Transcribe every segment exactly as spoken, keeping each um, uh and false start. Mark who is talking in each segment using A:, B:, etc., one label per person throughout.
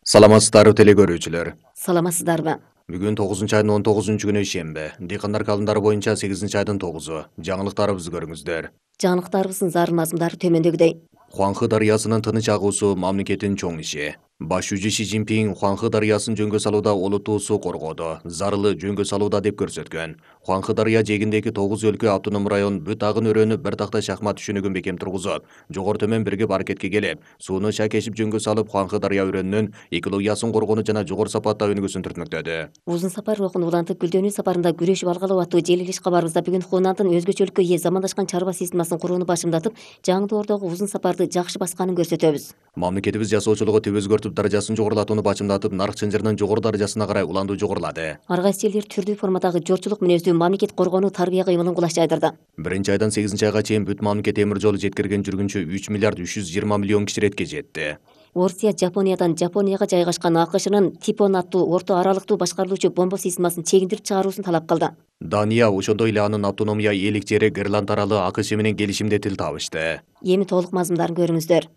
A: Саламатсыздарбы теле көрүүчүлөр.
B: Саламатсыздарбы?
A: Бүгүн тогузунчу айдын он тогузунчу күнү шемби. Дыйкандар калымдары боюнча сегизинчи айдын тогузу. Жаңылыктарыбызды көрүңүздөр.
B: Жаңылыктарыбыздын зарыл мазмундары төмөндөгүдөй.
A: Хуанхэ дарыясынын тыныч агуусу мамлекеттин чоң иши. Баш жүзү Си Цзиньпин Хуанхэ дарыясын жөнгө салууда олуттуу суу коргоодо, зарылы жөнгө салууда деп көрсөткөн. Хуанхэ дарыя жээгиндеги тогуз өлкө автоном район бүт агын өрөөнү бир такта шахмат түшүнүгүн бекем тургузуп, жогору төмөн биригип аракетке келип, сууну шайкешип жөнгө салып, Хуанхэ дарыя өрөөнүнүн экологиясын коргоону жана жогору сапаттаа өнүгүүсүн түртмөктөдү.
B: Узун сапар рухун улантып, гүлдөнүү сапарында күрөшүп алгалы аттуу желилиш кабарыбызда бүгүн Хунандын өзгөчөлүккө ээ замандашкан чарба системасын курууну башымдатып, жаңдоордогу узун сапарды жакшы басканын көрсөтөбүз.
A: Мамлекетибиз жасоочулугу түбө өзгөртүп, даражасын жогорулатууну бачымдатып, нарк чынжырынын жогору даражасына карай уландуу жогорулады.
B: Ар кайсы элдер түрдүү формадагы жортчулук мүнөздүү мамлекет коргонуу тарбия кыймылын кулаш жайдырды.
A: Биринчи айдан сегизинчи айга чейин бүт мамлекет темир жолу жеткирген жүргүнчү үч миллиард үч жүз жыйырма миллион киширетке жетти.
B: Орусия Жапониядан Жапонияга жайгашкан АКШнын Типон аттуу орто аралыктуу башкарылуучу бомба системасын чегиндирип чыгаруусун талап кылды.
A: Дания ошондой эле анын автономия ээлик жери Гренланд аралы АКШ менен келишимде тил табышты.
B: Эми толук мазмундарын көрүңүздөр.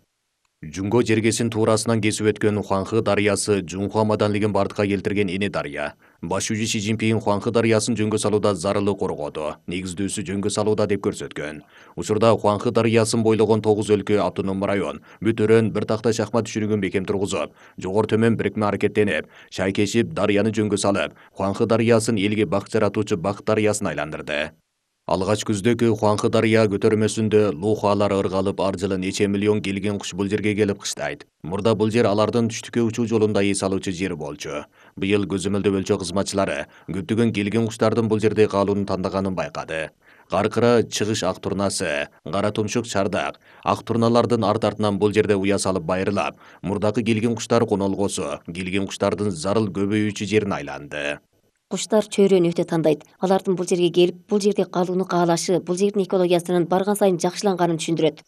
A: Жунго жергесин туурасынан кесип өткөн Хуанхэ дарыясы Жунхуа маданлыгын бардыкка келтирген эне дарыя. Баш жүзү Си Цзиньпин Хуанхэ дарыясын жөнгө салууда зарылы коргоодо, негиздүүсү жөнгө салууда деп көрсөткөн. Учурда Хуанхэ дарыясын бойлогон тогуз өлкө автоном район бүт өрөөн бир такта шахмат түшүнүгүн бекем тургузуп, жогору төмөн бирикме аракеттенип, шайкешип дарыяны жөнгө салып, Хуанхэ дарыясын элге бак жаратуучу Бак дарыясына айландырды. Алгач күздөгү Хуанхэ дарыя көтөрмөсүндө лухалар ыргалып, ар жылы нече миллион келген куш бул жерге келип кыштайт. Мурда бул жер алардын түштүккө учуу жолунда эс алуучу жер болчу. Быйыл көзөмөлдөө өлчө кызматчылары көптөгөн келген куштардын бул жерде калууну тандаганын байкады. Каркыра чыгыш ак турнасы, кара тумшук чардак, ак турналардын арт артынан бул жерде уя салып байрылап, мурдагы келген куштар конолгосу, келген куштардын зарыл көбөйүүчү жерине айланды.
B: Куштар чөйрөнү өтө тандайт. Алардын бул жерге келип, бул жерде калууну каалашы, бул жердин экологиясынын барган сайын жакшыланганын түшүндүрөт.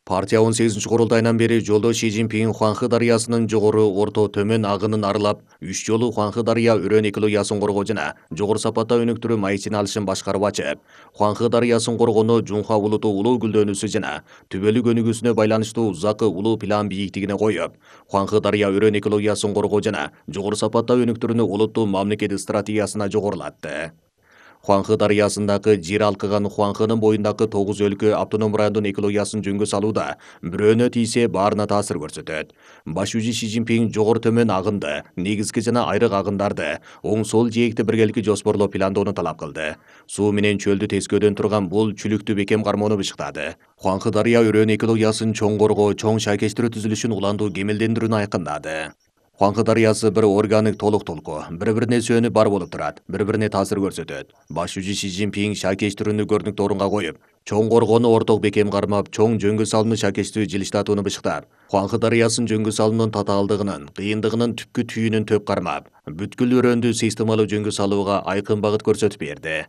A: Партия он сегизинчи курултайынан бери жолдо Си Цзиньпин Хуанхэ дарыясынын жогору, орто, төмөн агынын арылап, үч жолу Хуанхэ дарыя өрөөн экологиясын коргоо жана жогору сапатта өнүктүрүү маектин алышын башкарып ачып, Хуанхэ дарыясын коргоону Жунхуа улуту улуу гүлдөнүүсү жана түбөлүк өнүгүүсүнө байланыштуу узакы улуу план бийиктигине коюп, Хуанхэ дарыя өрөөн экологиясын коргоо жана жогору сапатта өнүктүрүүнү улуттуу мамлекет стратегиясына жогорулатты. Хуанхэ дарыясындагы жер алкыган Хуанхэнын боюндагы тогуз өлкө автоном райондун экологиясын жөнгө салууда бирөөнө тийсе баарына таасир көрсөтөт. Баш жүзү Си Цзиньпин жогору төмөн агынды, негизги жана айрык агындарды оң сол жээкти биргеликти жоспорлоп пландоону талап кылды. Суу менен чөлдү тескөөдөн турган бул чүлүктү бекем кармоону бышыктады. Хуанхэ дарыя өрөөн экологиясын чоң коргоо, чоң шайкештирүү түзүлүшүн уландуу кемелдендирүүнү айкындады. Хуанхэ дарыясы бир органик толук толку, бири-бирине сөөнүп бар болуп турат, бири-бирине таасир көрсөтөт. Баш жүзү Си Цзиньпин шайкештирүүнү көрүнүктүү орунга коюп, чоң коргоону орток бекем кармап, чоң жөнгө салууну шайкештүү жылыштатууну бышыктап, Хуанхэ дарыясын жөнгө салуунун татаалдыгынын, кыйындыгынын түпкү түйүнүн төп кармап, бүткүл өрөөндү системалуу жөнгө салууга айкын багыт көрсөтүп берди.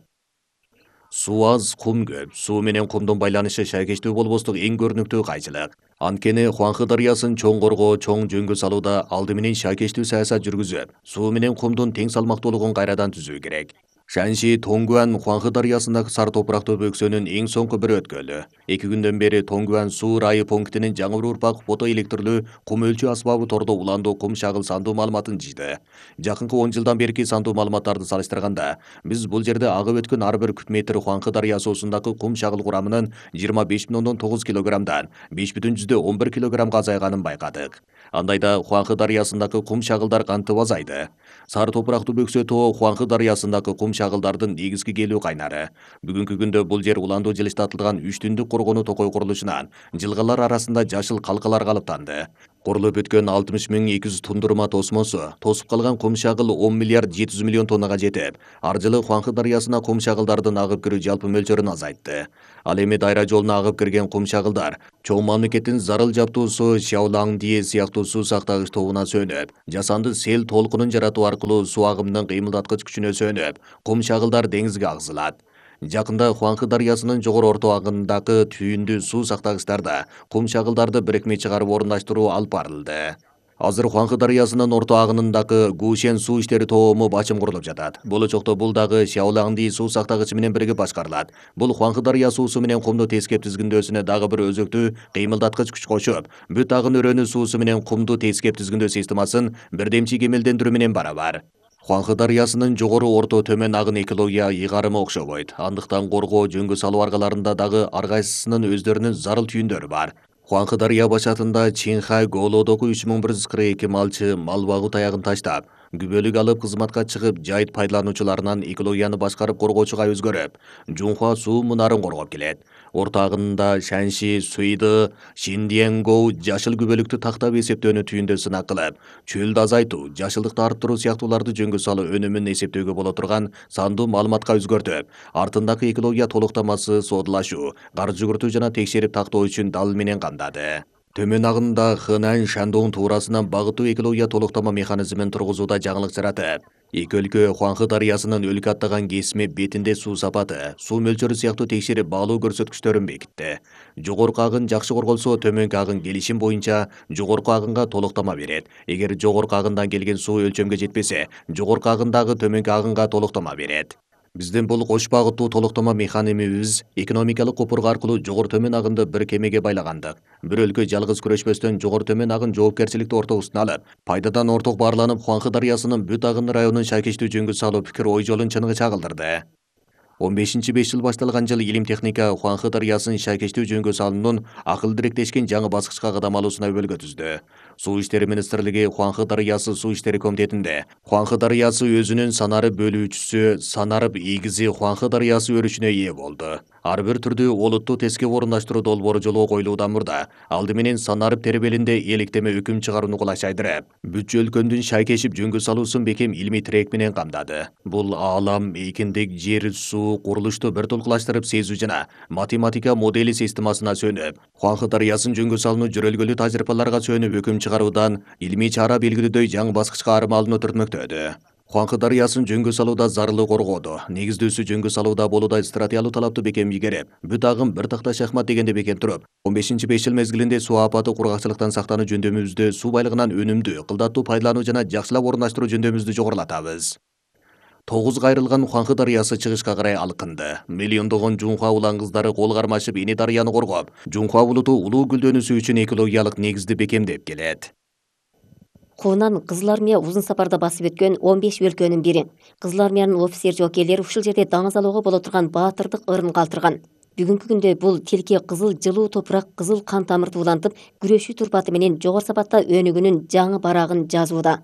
A: Суу аз, кум көп. Суу менен кумдун байланышы шайкештүү болбостук эң көрүнүктүү кайчылык. Анткени Хуанхэ дарыясын чоң коргоо, чоң жөнгө салууда алды менен шайкештүү саясат жүргүзүп, суу менен кумдун тең салмактуулугун кайрадан түзүү керек. Шанши Тонгуан Хуанхэ дарыясындагы сар топурактуу бөксөнүн эң соңку бир өткөлү. Эки күндөн бери Тонгуан суу райы пунктинин жаңы бир урпак фото электрлүү кум өлчөө асбабы тордо уландуу кум шагыл сандуу маалыматын жыйды. Жакынкы он жылдан берки сандуу маалыматтарды салыштырганда, биз бул жерде агып өткөн ар бир куб метр Хуанхэ дарыя суусундагы кум шагыл курамынын жыйырма беш бүтүн ондон тогуз килограммдан беш бүтүн жүздөн он бир килограммга азайганын байкадык. Андайда Хуанхэ дарыясындагы кум шагылдар кантип азайды? Сар топурактуу бөксө тоо Хуанхэ дарыясындагы кум шагылдардын негизги келүү кайнары. Бүгүнкү күндө бул жер уландуу жылыштатылган үч түндүк коргонуу токой курулушунан жылгалар арасында жашыл калкалар калыптанды. Курулуп бүткөн алтымыш миң эки жүз тундурма тосмосу тосуп калган кум шагыл он миллиард жети жүз миллион тоннага жетип, ар жылы Хуанхэ дарыясына кум шагылдардын агып кирүү жалпы мөлчөрүн азайтты. Ал эми дайра жолуна агып кирген кум шагылдар чоң мамлекеттин зарыл жаптуусу Шяолаңдие сыяктуу суу сактагыч тобуна сөнүп, жасанды сел толкунун жаратуу аркылуу суу агымынын кыймылдаткыч күчүнө сөнүп, кум шагылдар деңизге агзылат. Жакында Хуанхэ дарыясынын жогору орто агынындагы түйүндүү суу сактагычтарда кум шагылдарды бирикме чыгарып орундаштыруу алып барылды. Азыр Хуанхы дарыясынын орто агынындагы Гушен суу иштери тоому бачым курулуп жатат. Болочокто бул дагы Шаолаңди суу сактагычы менен бирге башкарылат. Бул Хуанхы дарыя суусу менен кумду тескеп тизгиндөөсүнө дагы бир өзөктүү кыймылдаткыч күч кошуп, бүт агын өрөөнү суусу менен кумду тескеп тизгиндөө системасын бирдемчи кемелдендирүү менен барабар. Хуанхы дарыясынын жогору, орто, төмөн агын экология ыйгарымы окшобойт. Андыктан коргоо, жөнгө салуу аргаларында дагы ар кайсысынын өздөрүнүн зарыл түйүндөрү бар. Хуанхы дарыя башатында Чинхай Голодогу үч миң бир жүз кырк эки малчы мал багуу таягын таштап, күбөлүк алып кызматка чыгып, жайыт пайдалануучуларынан экологияны башкарып коргоочуга өзгөрүп, Жунхуа суу мунарын коргоп келет. Орто агынында Шанши, Суйды, Шиндиенгоу жашыл күбөлүктү тактап эсептөөнү түйүндө сынак кылып, чөлдү азайтуу, жашылдыкты арттыруу сыяктууларды жөнгө салуу өнүмүн эсептөөгө боло турган сандуу маалыматка өзгөртүп, артындагы экология толуктамасы содулашуу, каржы жүгүртүү жана текшерип тактоо үчүн дал менен камдады. Төмөн агында Хынан Шандоң туурасынан багыттуу экология толуктама механизмин тургузууда жаңылык жаратып, эки өлкө Хуанхы дарыясынын өлкө аттаган кесими бетинде суу сапаты, суу мөлчөрү сыяктуу текшерип баалуу көрсөткүчтөрүн бекитти. Жогорку агын жакшы корголсо, төмөнкү агын келишим боюнча жогорку агынга толуктама берет. Эгер жогорку агындан келген суу өлчөмгө жетпесе, жогорку агындагы төмөнкү агынга толуктама берет. Биздин бул кош багыттуу толуктама механимибиз экономикалык копурга аркылуу жогору төмөн агынды бир кемеге байлагандык. Бир өлкө жалгыз күрөшпөстөн жогору төмөн агын жоопкерчиликти ортогусуна алып, пайдадан орток баарланып, Хуанхы дарыясынын бүт агыны районун шайкештүү жөнгө салуу пикир ой жолун чыныгы чагылдырды. он бешинчи беш жыл башталган жыл илим техника Хуанхы дарыясын шайкештүү жөнгө салуунун акыл дириктешкен жаңы баскычка кадам алуусуна өбөлгө түздү. Суу иштери министрлиги Хуанхы дарыясы суу иштери комитетинде Хуанхы дарыясы өзүнүн санары бөлүүчүсү санарып ийгизи Хуанхы дарыясы өрүшүнө ээ болду. Ар бир түрдүү олуттуу тескеп орунаштыруу долбоору жолго коюлуудан мурда алды менен санарып тербелинде электеме өкүм чыгарууну кулайчайдырып, бүт өлкөнүн шайкешип жөнгө салуусун бекем илимий тирек менен камдады. Бул аалам, эркиндик, жер, суу, курулушту бир толкулаштырып сезүү жана математика модели системасына сүйөнүп, Хуанхы дарыясын жөнгө салууну жөрөлгөлүү тажрыйбаларга сүйөнүп өкүм чыгаруудан илимий чара белгилөөдөй жаңы баскычка арым алууну түртмөктөдү. Хуанхы дарыясын жөнгө салууда зарылы коргоодо, негиздүүсү жөнгө салууда болуудай стратегиялык талаптуу бекем ийгереп, бүт агым бир такта шахмат дегенде бекем туруп, он бешинчи беш жыл мезгилинде суу апаты кургакчылыктан сактануу жөндөмүбүздү, суу байлыгынан өнүмдүү, кылдаттуу пайдалануу жана жакшылап орундаштыруу жөндөмүбүздү жогорулатабыз. Тогуз кайрылган Хуанхы дарыясы чыгышка карай алкынды. Миллиондогон Жунхуа улан кыздары кол кармашып эне дарыяны коргоп, Жунхуа булуту улуу гүлдөнүүсү үчүн экологиялык негизди бекемдеп келет.
B: Хунан Кызыл армия узун сапарда басып өткөн он беш өлкөнүн бири. Кызыл армиянын офицер жоокейлери ушул жерде даңыз алууга боло турган баатырдык ырын калтырган. Бүгүнкү күндө бул тилке кызыл жылуу топурак, кызыл кан тамырды улантып, күрөшүү турпаты менен жогору сапатта өнүгүүнүн жаңы барагын жазууда.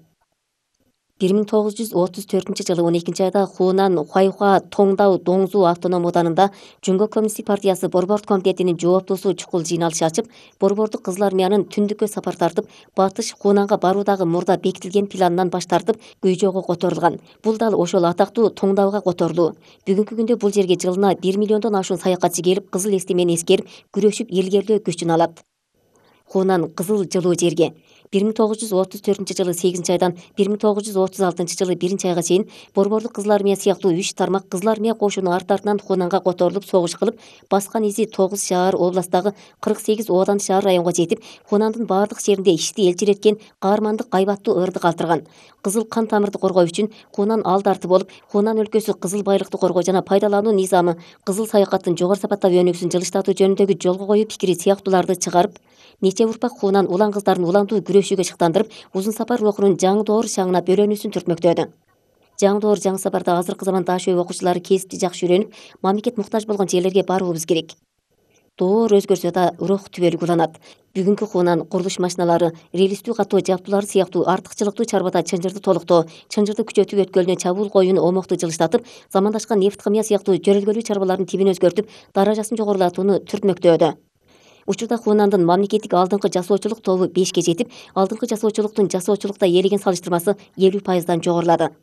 B: бир миң тогуз жүз отуз төртүнчү жылы он экинчи айда Хунан Хуайхуа Тоңдау Доңзу автоном ооданында Жөнгө коммунисттик партиясы борбордук комитетинин жооптуусу чукул жыйналыш ачып, борбордук Кызыл армиянын түндүккө сапар тартып, батыш Хунанга баруудагы мурда бекитилген планынан баш тартып, Гүйжоого которулган. Бул дал ошол атактуу Тоңдауга которулуу. Бүгүнкү күндө бул жерге жылына бир миллиондон ашуун саякатчы келип, кызыл эстемени эскерип, күрөшүп илгерилөө күчүн алат. Хунан кызыл жылуу жерге бир миң тогуз жүз отуз төртүнчү жылы сегизинчи айдан бир миң тогуз жүз отуз алтынчы жылы биринчи айга чейин борбордук Кызыл армия сыяктуу үч тармак Кызыл армия кошуну арт-артынан Хунанга которулуп согуш кылып, баскан изи тогуз шаар областтагы кырк сегиз оодан шаар районго жетип, Хунандын баардык жеринде ишти элчиреткен каармандык кайбаттуу ырды калтырган. Кызыл кан тамырды коргоо үчүн Хунан алдарты болуп, Хунан өлкөсү кызыл байлыкты коргоо жана пайдалануу низамы, кызыл саякаттын жогору сапатта өнүгүсүн жылыштатуу жөнүндөгү жолго коюу пикири сыяктууларды чыгарып, нече урпак Хунан улан кыздарын уландуу күрөшүүгө шыктандырып, узун сапар рухунун жаңы доор шаңына бөлөнүүсүн түртмөктөдү. Жаңы доор жаңы сапарда азыркы заман даш өй окуучулары кесипти жакшы үйрөнүп, мамлекет муктаж болгон жерлерге баруубуз керек. Доор өзгөрсө да урок түбөлүк уланат. Бүгүнкү Хунан курулуш машиналары, релистүү катуу жабдуулары сыяктуу артыкчылыктуу чарбада чынжырды толуктоо, чынжырды күчөтүп өткөлүнө чабуул коюуну омокту жылыштатып, замандашкан нефт кымыя сыяктуу жөрөлгөлүү чарбалардын тибин өзгөртүп, даражасын жогорулатууну түртмөктөдү. Учурда Хунандын мамлекеттик алдыңкы жасоочулук тобу бешке жетип, алдыңкы жасоочулуктун жасоочулукта ээлеген салыштырмасы элүү пайыздан жогорулады.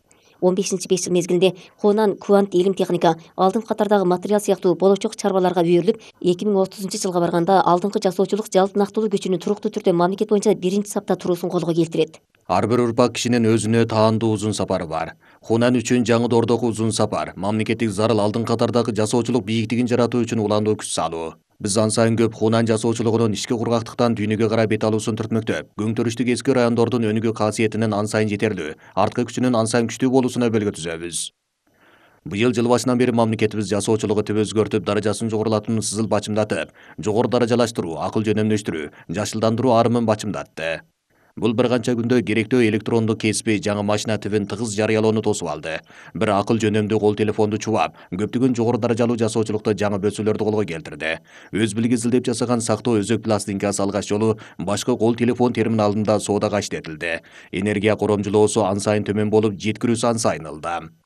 B: он бешинчи беш жыл мезгилинде Хунан квант илим техника, алдыңкы катардагы материал сыяктуу болочок чарбаларга үйрүлүп, эки миң отузунчу жылга барганда алдыңкы жасоочулук жалпы нактылуу күчүнүн туруктуу түрдө мамлекет боюнча биринчи сапта туруусун колго келтирет.
A: Ар бир урпак кишинин өзүнө таандуу узун сапары бар. Хунан үчүн жаңы доордогу узун сапар мамлекеттик зарыл алдын катардагы жасоочулук бийиктигин жаратуу үчүн улануу күч салуу. Биз ан сайын көп Хунан жасоочулугунун ички кургактыктан дүйнөгө карай бет алуусун түртмөктөп, көңтөрүштүк эски райондордун өнүгүү касиетинин ан сайын жетерлүү, арткы күчүнүн ан сайын күчтүү болуусуна өбөлгө түзөбүз. Быйыл жыл башынан бери мамлекетибиз жасоочулугу түбө өзгөртүп, даражасын жогорулатууну сызыл бачымдатып, жогору даражалаштыруу, акыл жөнөмдөштүрүү, жашылдандыруу арымын бачымдатты. Бул бир канча күндө керектөө электрондук кеспи жаңы машина тибин тыгыз жарыялоону тосуп алды. Бир акыл жөнөмдүү кол телефонду чубап, көптөгөн жогору даражалуу жасоочулукта жаңы бөсөлөрдү колго келтирди. Өз билиги изилдеп жасаган сактоо өзөк пластинкасы алгач жолу башкы кол телефон терминалында соодага иштетилди. Энергия коромжулоосу ан сайын төмөн болуп, жеткирүүсү ан сайын ылдам.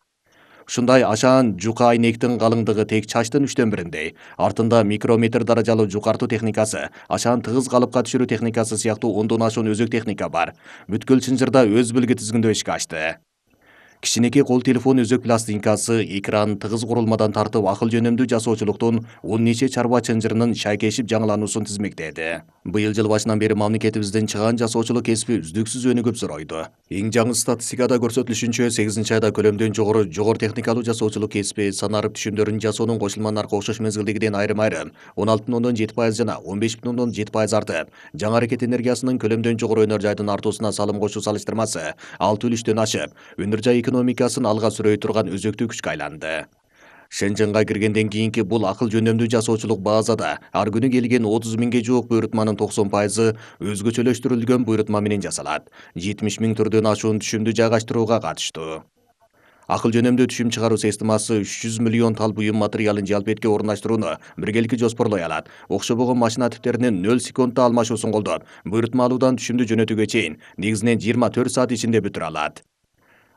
A: Ушундай ашаан жука айнектин калыңдыгы тек чачтын үчтөн бириндей. Артында микрометр даражалуу жукартуу техникасы, ашаан тыгыз калыпка түшүрүү техникасы сыяктуу ондон ашуун өзөк техника бар. Бүткүл Чынжырда өз билги тизгиндөө ишке ашты. Кичинекей кол телефон өзөк пластинкасы, экран, тыгыз курулмадан тартып акыл жөнөмдүү жасоочулуктун он нече чарба чынжырынын шайкешип жаңылануусун тизмектеди. Быйыл жыл башынан бери мамлекетибиздин чыгаан жасоочулук кесиби үздүксүз өнүгүп зоройду. Эң жаңы статистикада көрсөтүлүшүнчө сегизинчи айда көлөмдөн жогору жогору техникалуу жасоочулук кесиби санарып түшүмдөрүн жасоонун кошулма наркы окшош мезгилдегиден айрым-айрым он алты бүтүн ондон жети пайыз жана он беш бүтүн ондон жети пайыз артып, жаңы аракет энергиясынын көлөмдөн жогору өнөр жайдын артуусуна салым кошуу салыштырмасы алты үлүштөн ашып, өнөр жай экономикасын алга сүрөй турган өзөктүү күчкө айланды. Шенженга киргенден кийинки бул акыл жөнөмдүү жасоочулук базада ар күнү келген отуз миңге жуук буйрутманын токсон пайызы өзгөчөлөштүрүлгөн буйрутма менен жасалат. жетимиш миң түрдөн ашуун түшүмдү жайгаштырууга катыштуу. Акыл жөнөмдүү түшүм чыгаруу системасы үч жүз миллион тал буюм материалын жалпетке орундаштырууну биргеликти жоспорлой алат. Окшобогон машина типтеринин нөл секундда алмашуусун колдоп, буйрутма алуудан түшүмдү жөнөтүүгө чейин негизинен жыйырма төрт саат ичинде бүтүрө алат.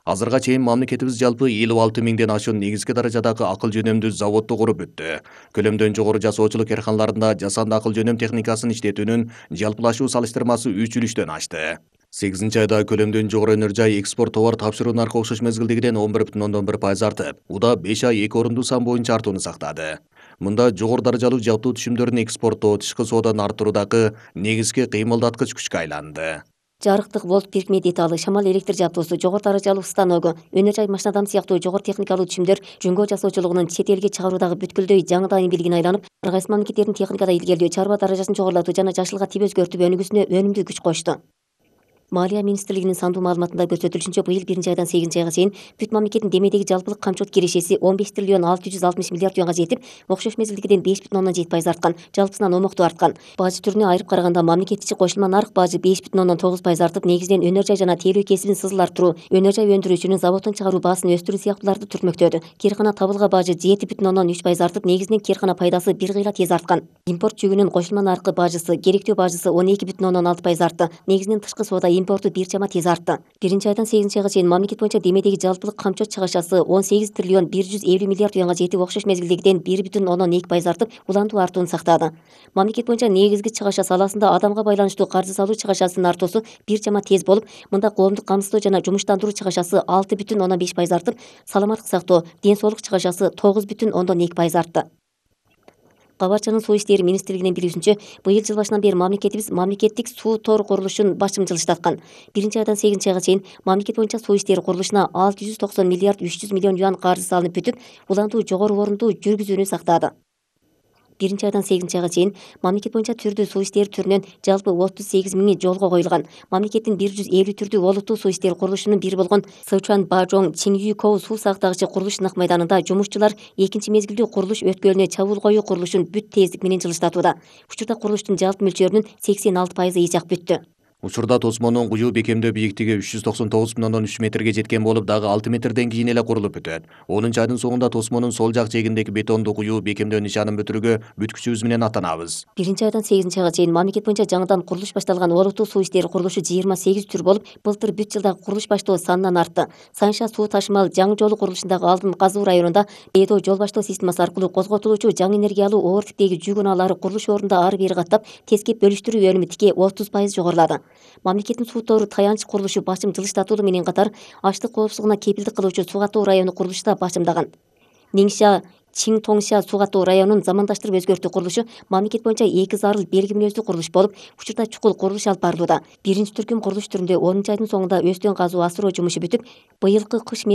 A: Азырга чейин мамлекетибиз жалпы элүү алты миңден ашуун негизги даражадагы акыл жөнөмдүү заводду куруп бүттү. Көлөмдөн жогору жасоочулук карканаларында жасанды акыл жөнөм техникасын иштетүүнүн жалпылашуу салыштырмасы үч үлүштөн ашты. сегизинчи айда көлөмдөн жогору өнөр жай экспорт товар тапшыруу наркы окшош мезгилдегиден он бир бүтүн ондон бир пайыз артып, уда беш ай эки орундуу сан боюнча артууну сактады. Мында жогору даражалуу жалптуу түшүмдөрүн экспорттоо, тышкы сооданы арттыруудагы негизги кыймылдаткыч күчкө айланды.
B: Жарыктык волт бирикме деталы, шамал электр жабдоосу, жогору даражалуу станогу, өнөр жай машинадам сыяктуу жогору техникалуу түшүмдөр жөнгө жасоочулугунун чет элге чыгаруудагы бүткүлдөй жаңы дайын билигине айланып, ар кайсы мамлекеттердин техникада илгерилөө, чарба даражасын жогорулатуу жана жашылга тип өзгөртүп өнүгүүсүнө өнүмдүү күч кошту. Малия министрлигинин сандуу маалыматында көрсөтүлүшүнчө, быйыл биринчи айдан сегизинчи айга чейин бүт мамлекеттин демедеги жалпылык камчылык кирешеси он беш триллион алты жүз алтымыш миллиард юанга жетип, окшош мезгилдегиден беш бүтүн ондон жети пайыз арткан, жалпысынан омоктуу арткан. Бажы түрүнө айырып караганда мамлекет ичи кошулма нарк бажы беш бүтүн ондон тогуз пайыз артып, негизинен өнөр жай жана тейлөө кесибин сызыл арттыруу, өнөр жай өндүрүүчүнүн заводдон чыгаруу баасын өстүрүү сыяктууларды түртмөктөдү. Кээркана табылга бажы жети бүтүн ондон үч пайыз артып, негизинен кээркана пайдасы бир кыйла тез арткан. Импорт жүгүнүн кошулма наркы бажысы, керектөө бажысы он эки бүтүн ондон алты пайыз артты, негизинен тышкы соода импорту бир чама тез артты. Биринчи айдан сегизинчи айга чейин мамлекет боюнча демедеги жалпылык камчот чыгашасы он сегиз триллион бир жүз элүү миллиард юанга жетип, окшош мезгилдегиден бир бүтүн ондон эки пайыз артып, улантуу артууну сактады. Мамлекет боюнча негизги чыгаша саласында адамга байланыштуу каржы салуу чыгашасынын артуусу бир чама тез болуп, мында коомдук камсыздоо жана жумуштандыруу чыгашасы алты бүтүн ондон беш пайыз артып, саламаттык сактоо, ден соолук чыгашасы тогуз бүтүн ондон эки пайыз артты. Кабарчанын суу иштери министрлигинин билүүсүнчө, быйыл жыл башынан бери мамлекетибиз мамлекеттик суу тор курулушун башым жылыштаткан. Биринчи айдан сегизинчи айга чейин мамлекет боюнча суу иштери курулушуна алты жүз токсон миллиард үч жүз миллион юан каржы салынып бүтүп, улантуу жогору орундуу жүргүзүүнү сактады. Биринчи айдан сегизинчи айга чейин мамлекет боюнча түрдүү суу иштери түрүнөн жалпы отуз сегиз миңи жолго коюлган. Мамлекеттин бир жүз элүү түрдүү олуттуу суу иштери курулушунун бири болгон Сычуан Бажоң Чингюкоу суу сактагычы курулуш ынак майданында жумушчулар экинчи мезгилдүү курулуш өткөлүнө чабуул коюу курулушун бүт тездик менен жылыштатууда. Учурда курулуштун жалпы мөлчөрүнүн сексен алты пайызы ичак бүттү.
A: Учурда тосмонун куюу бекемдөө бийиктиги үч жүз токсон тогуз бүтүн ондон үч метрге жеткен болуп, дагы алты метрден кийин эле курулуп бүтөт. онунчу айдын соңунда тосмонун сол жак жээгиндеги бетондуу куюу бекемдөө нишанын бүтүрүүгө бүт күчүбүз менен аттанабыз.
B: Биринчи айдан сегизинчи айга чейин мамлекет боюнча жаңыдан курулуш башталган олуттуу суу иштери курулушу жыйырма сегиз түр болуп, былтыр бүт жылдагы курулуш баштоо санынан артты. Сайынша суу ташымал жаңы жолу курулушундагы алдын казуу районунда Эдо жол баштоо системасы аркылуу козготулуучу жаңы энергиялуу оор типтеги жүк унаалары курулуш ордунда ары бери каттап, тескеп бөлүштүрүү өнүмү тике отуз пайыз жогорулады. Мамлекеттин суу тору таянч курулушу башым жылыштатуу менен катар, аштык коопсуздугуна кепилдик кылуучу суу катуу району курулушу да башымдаган. Ниңша Чиң Тоңша суу катуу районунун замандаштырып өзгөртүү курулушу мамлекет боюнча эки зарыл белги мүнөздүү курулуш болуп, учурда чукул курулуш алып барылууда. Биринчи түркүм курулуш түрүндө онунчу айдын соңунда өстөн казуу асыроо жумушу бүтүп, быйылкы кыш